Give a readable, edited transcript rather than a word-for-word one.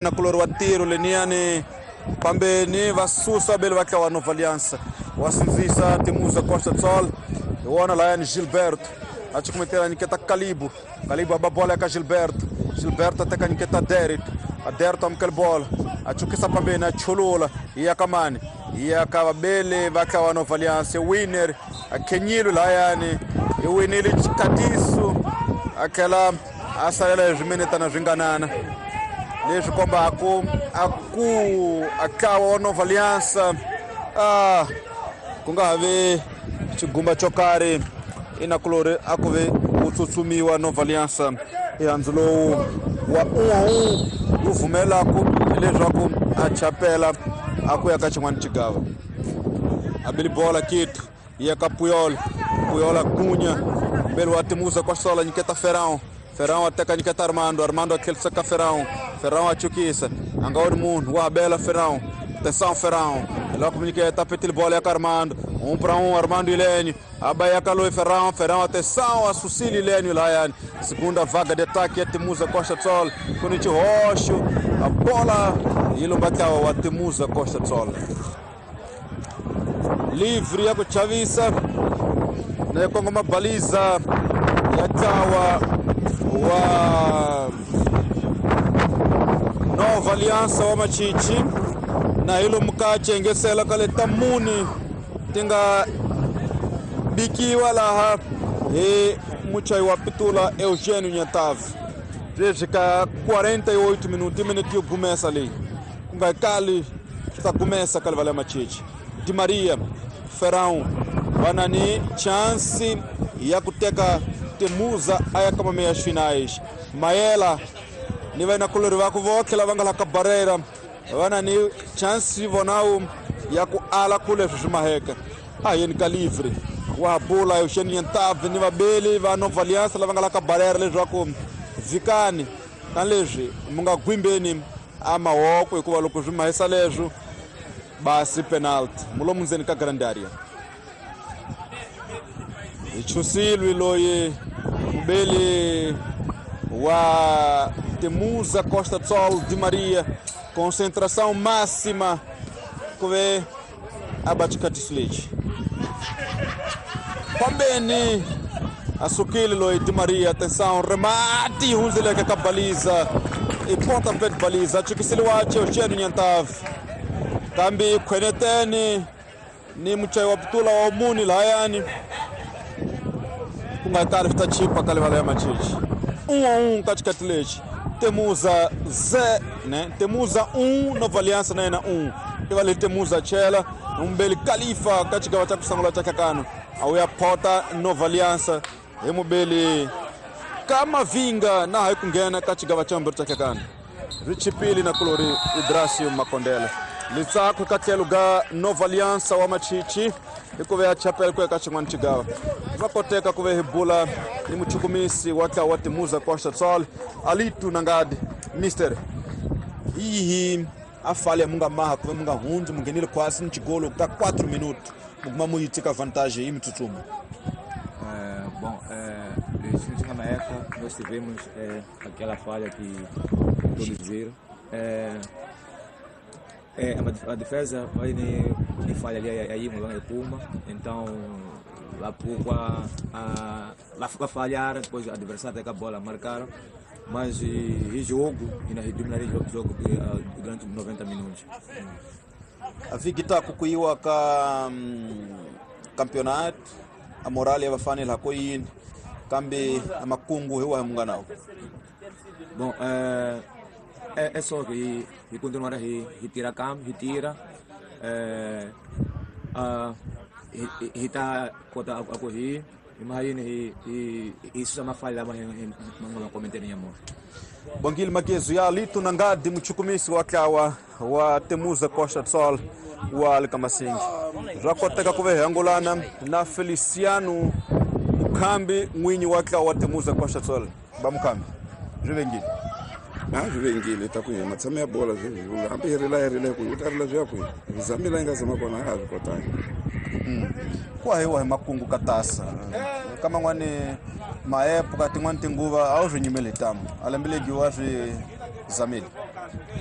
Na kulori wa tiro leniyani pambeni va susa bele va tlawa Nova Aliança wa sindzisa Temuza Costa do Sol hi wona layani Gilberto a cukumetela nyiketa Kalibu. Kalibu a ba bola ka Gilberto. Gilberto a teka nyiketa Derek. A Derek amukela bola a cukisa pambeni a chulula yi ya ka mani, yi ya ka vabele va tlawa Nova Aliança. Winner a khenyile layani i winile xikatiso a tlhela a salela hi swiminetana swi nganana leswi kombaku a ku a tlawa wa Nova Aliança a ku nga ha vi xigumba xo karhi inakulori a ku ve ku tsutsumiwa Nova Aliança ehandzu lowu wa 1-1 wu vumelaku hileswaku a chapela a ku ya ka xin'wana xigava. A bili bola Kito ya ka Puyol. Puyol a Cunha mbele wa Temuza Costa nyiketa Ferrão. Ferrão a teka nyiketa Armando. Armando a tlherisa ka Ferrão. Ferrão a chukisa a nga ri munhu wa bela Ferrão. Atenção Ferrão, logo nyiketa petile bola ya ka Armando. 1-1 Armando Ilênio. A Bahia calou Ferrão. Ferrão, atenção, a Sucílio Ilênio Laiane. Segunda vaga de ataque é Temuza Costa do Sol. Conite Rocho, a bola e Lumbacawa, a Temuza Costa do Sol. Livre ya kuchavisa na kongoma baliza ya tawa wa Nova Aliança wa Machichi na hilo mkache ngesela kale tamuni tinga bikiwa laha e muchai wa pitula Eugênio Nyatavi. Desde ka 48 minutos minuto yo começa ali kunga kali está começa kale vale Machichi. Di Maria, Ferrão vanani chance ya kuteka Temuza aya kama meias finais. Maela ni vai na color va ku vokhela va nga la ka barreira vanani chance vonau ya ku ala kule swi maheka a yeni ka livre wa bola Eugênio Nyatavi ni vabeli va Nova Aliança lava nga la ka barreira leswaku vikani na leswi mu nga gwimbeni a mahoko hikuva loko swi mahisa leswo basi penalty mulomu ndzeni ka grand area. Chusilwi loyi mubeli wa Temuza Costa do Sol Di Maria, concentração máxima kuve abatikatisleti pambeni asukile loyi Di Maria. Atenção, remate hunzeleka ka baliza e pontapé de baliza chikisile wache Eugênio Nyatavi kambi khweneteni ni muchai wa pitula wa muni layani ku nga kali swi ta chipa ka livala ya Machichi. 1-1 katikati lexi Temuza ze né Temuza 1 Nova Aliança na yena 1 ivale Temuza chela umbeli Khalifa ka xigava xa ku sungula xa Kakano a wu ya phota Nova Aliança hi mubeli Kamavinga na hayi ku nghena ka xigava xa mbirhi xa Kakano ri chipile na kulori Idrasio Makondela litsako ka tlhelo ga Nova Aliança wa Machichi hikuva ya chapela ku ya ka xin'wana xigava va koteka ku ve hi bula ni muchukumisi wa tlawa wa Temuza Costa do Sol Alito Nangadi. Mister ihi a falha munga maha ku ve munga hundzi munghenile quase ni xigolo ka 4 minutos muguma mu yi teka vantagem yi mitsutsuma. Bom, na época nós tivemos aquela falha que todos viram. A defesa vai nem falha ali aí Mulanga Puma, então lá pouco a falhar, depois o adversário pega a bola, marcaram, mas e jogo, e na dominar o jogo durante 90 minutos. A Vigita kukuiwa ka campeonato, a moral ya bafana la koyin kambe amakungu hewa munganao. Bom, é só que e continuar a retirar campo, retira, tá cota a correr, imagina e isso é uma falha, mas não cometer nenhuma. Bangil Magezu ya Alito Nangadi muchukumisi wa tlawa wa Temuza Costa do Sol wa Alkamasingi. Rakoteka kuve angolana na Feliciano Mukambi mwinyi wa tlawa wa Temuza Costa do Sol. Ba Mukambi. Juvengile. Na juvengile takuye matsame ya bola zwe hambi hi rila ku utarila zwa ku zamila inga zama kona ha zvikotanga. Kwa hiyo makungu katasa kama ngwane maepo kati ngwane tinguva au zvinyimele tamu alembele giwa zvi zamile. Ya.